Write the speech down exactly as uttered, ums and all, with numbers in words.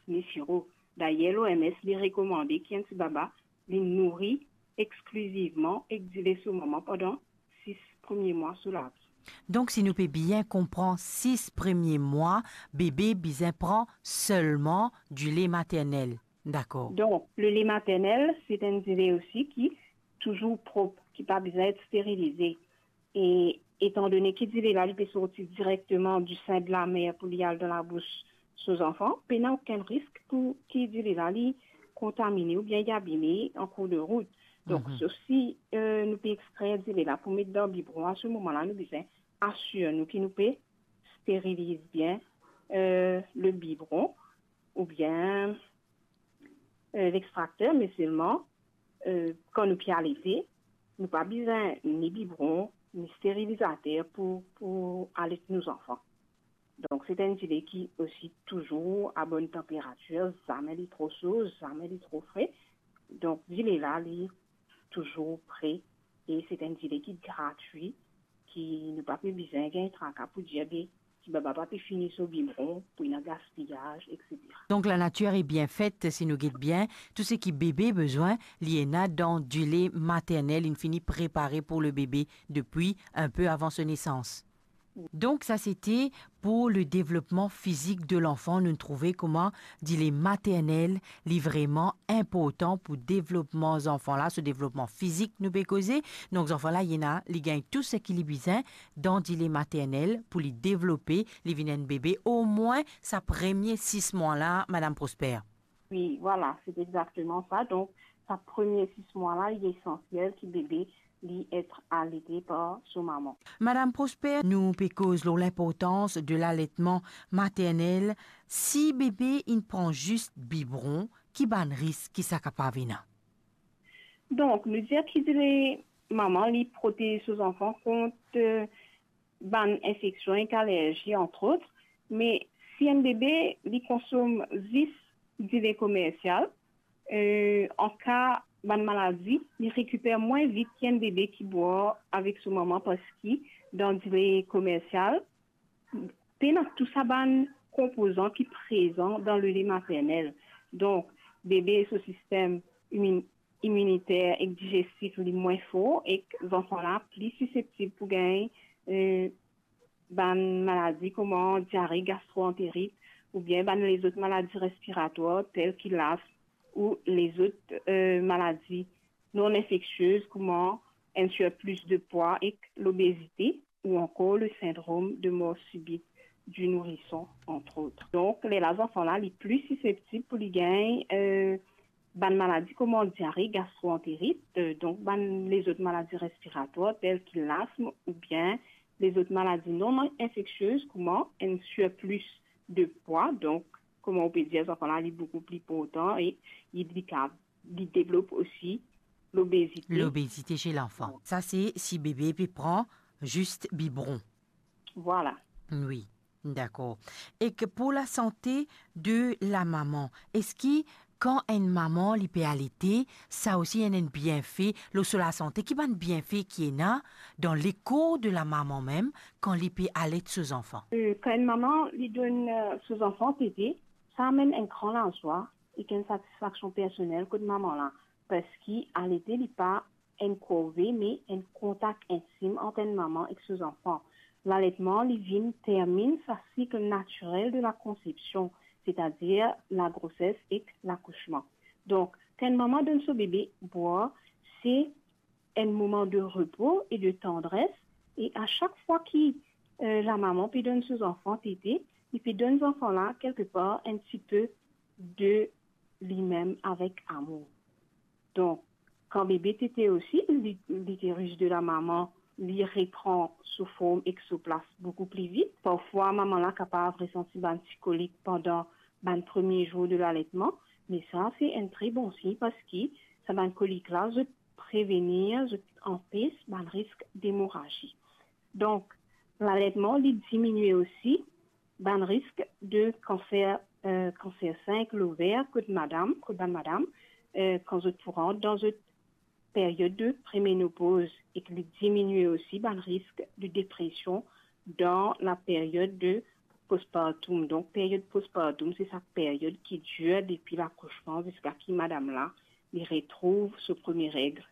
ni siro. Dayer, l'O M S li rekomande ki enn tibaba li nouri exklizivman ek dile so manman pandan sis premie mwa so lavi. Donk, si nou pe bien konpran, sis premie mwa, bebe bizin pran selman dile maternel. Dakor. Donk, lele maternel, se enn dile osi ki touzour prop, ki pa bizin et sterilize. E etandone ki dile la, li pe sorti direkteman du sein de la mère pou li al dan labous so zanfan, pena okenn risk pou ki dile la, li kontamine oubien li abime an kour de rout. Donk, Mhm. sof si, euh, nou pe extrer dile la pou met dan bibron, a se moman la, nou bizin asir nou ki nou pe steriliz bien, euh, le bibron oubien, euh, l'extracteur, me selman, euh, kan nou pe alete, nou pa bizin ni bibron, ni sterilizater pou, pou alet nou zanfan. Donk, se enn dile ki osi touzour a bonn tanperatir, zame li tro so, zame li tro fre. Donk, dile la, li touzour pre e se enn dile ki gratwi, ki nou pa pe bizin gagn traka pou dir, be, tibaba pa pe fini so bibron, pou ena gaspiyaz, et cetera. Donk, lanati li bien fet, si nou get bien, tou seki bebe bizin, li ena dan dile maternel, li fini prepare pou le bebe depi enpe avan so nesans. Donk, sa sete pou le devlopman fizik de lanfan. Nou trouve kouma dile maternel, li vreman inportan pou devlopman zanfan la, so devlopman fizik nou pe koze. Donk, zanfan la, li ena, li gagn tou seki li bizin dan dile maternel pou li devlope, li vinn enn bebe, omwin sa premie sis mwa la, Madam Prosper. Wi, vwala, se exakteman sa. Donk, sa premie sis mwa la, li esansiel ki bebe li et alete par so manman. Madam Prosper, nou pe koz lor linportans de laletman maternel. Si bebe inn pran zis bibron, ki bann risk ki sa kapav ena? Donk, nou dir ki dile manman, li protez so zanfan kont, euh, bann infeksion ek alerzi, antrot. Me si enn bebe, li konsom zis dile komersial, euh, an ka bann maladi, li rekiper mwin vit ki enn bebe ki bwar avek so manman, parski dan dile komersial, pena tou sa bann konpozan ki prezan dan lele maternel. Donk, bebe so sistem imin-, iminiter ek digestif li mwin for, ek zanfan la pli siseptib pou gagn, euh, bann maladi kouma diare, gastroenterit, oubien bann lezot maladi respiratwar, tel ki lasm ou lezot, euh, maladi non infektioz, kouma enn sirplis de pwa ek lobezite, ou ankor le sindrom de mor sibit di nourison, antrot. Donk, lerla zanfan la, li pli siseptib pou li gagn, euh, bann maladi kouma diare, gastroenterit, euh, donk bann lezot maladi respiratwar, tel ki lasm oubien lezot maladi non infeksioz, kouma enn sirplis de pwa. Donk, kouma ou pe dir, zanfan la, li boukou pli portan e li, li kav-, li devlop osi lobezite. Lobezite chez l'enfant. Sa, se si bebe pe pran zis bibron. Vwala. Wi, dakor. Ek pou lasante de la maman, eski kan enn manman li pe alete, sa osi ena enn bienfe lor so lasante? Ki bann bienfe ki ena dan lekor de la maman mem kan li pe alet so zanfan? Euh, kan enn manman li donn, euh, so zanfan tete, sa amenn enn gran lazwa ek enn satisfaksion personel kot manman la, parski alete li pa enn korve, me enn kontak intim ant enn manman ek so zanfan. Laletman, li vinn terminn sa sik natirel de la konsepsion, setadir la groses ek lakousman. Donk, kan enn manman donn so bebe bwar, se enn moman de repo e de tandres, e a sak fwa ki, euh, la maman pe donn so zanfan tete, li pe donn zanfan la, kelkepar, enn tipe de limem avek amour. Donk, kan bebe tete osi, li-, literis de la maman, li repran so form ek so plas boukou pli vit. Parfwa, manman la kapav resanti bann ti kolik pandan bann premie zour de laletman, me sa, se enn tre bon sign, parski sa bann kolik la, zot prevenir, zot anpes bann risk demorazi. Donk, laletman, li diminie osi bann risk de kanser, euh, kanser sin ek lover kot madam, kot bann madam, euh, kan zot pou rant dan zot period de premenopoz, ek li diminie osi bann risk de depresion dan la period de Postpartum, donk, peryod postpartum, se sa peryod ki dir depi lakosman ziska ki madam la, li retrouv so premie reg.